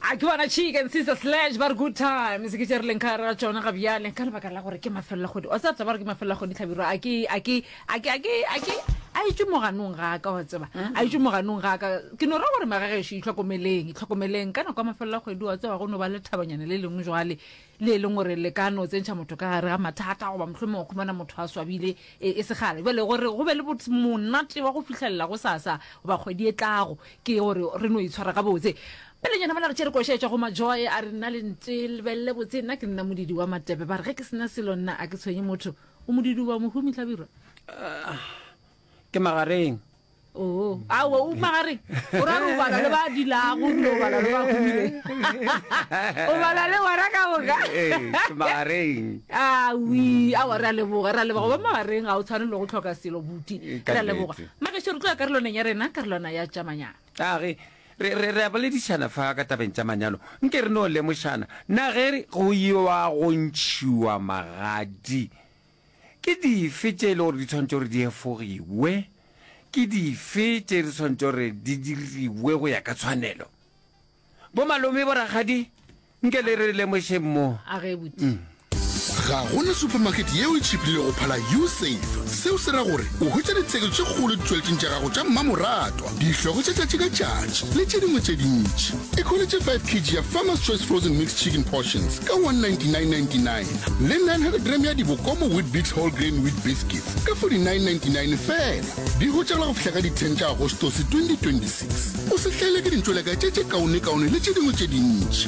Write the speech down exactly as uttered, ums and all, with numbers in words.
A ke bona Chicken Sister Sledge ba re good times ke tše re leng ka gare ga tšona ga bjale ka lebaka la gore ke mafelelo a kgwedi. Wa tseba taba gore ke mafelelo a kgwedi Hlabirwa a ke a ke a ke a ke a ke a etšwe moganong ga ka wa tseba a etšwe moganong ga ka ke no ra gore magagešo itlhokomeleng itlhokomeleng ka nako ya mafelelo a kgwedi wa tseba go no ba le thabanyana le lengwe jwale le e leng gore le ka no tsentšha motho ka gare ga mathata goba mohlomongwe wa khumana motho a swabile e, e segale bjale gore go be le monate wa go fihlelela go sasa goba kgwedi e tlago ke gore re no itshwara gabotse pelenyana mola re tšere koša e tšwa go majoy a re nna le nte lebelele botse nna ke nna modidi wa matepe ba re ge ke sena selo nna a ke tshwenye motho o modidi wa mohumi hlabirwa ke magareng oo aowa o magareng o ra re o bala le ba dilago ebile o bala le ba humileng o bala le bona ka moka Ee, ke magareng awi awa re a leboga re a leboga ba magareng ga o tshwane le go tlhoka selo buti Ee, ka re a leboga nnete. magešo re tlo ya karolwaneng ya rena karolwana ya tša manyalo a ge re re re a boledišana fa ka tabeng tša manyalo nke re no lemošana na ge go iwa go ntšhiwa magadi ke dife tše e le gore di tshwanetse gore di efogiwe ke dife tše di tshwanetse gore di diriwe go ya ka tshwanelo bo malome bo rakgadi nke le re lemošeng mo a ge buti ga gona supermarket yeo e tšhipile go phala usave seo se ra gore o hwetša ditheko tše kgolo ditšweletšeng tša gago tša mmamoratwa dihlogo tša tšatši ka tšatši le tše dingwe tše dintši e khweletše five kg ya farmers choice frozen mixed chicken portions ka one ninety-nine ninety-nine le nine hundred gram ya dibokomo weet-bix whole grain wheat biscuits ka forty-nine ninety-nine fela di hwetšagala go fihla ka di ten tša agostose twenty twenty-six o se hlaele ke dintšweleka tše tše kaonekaone le tše dingwe tše dintši.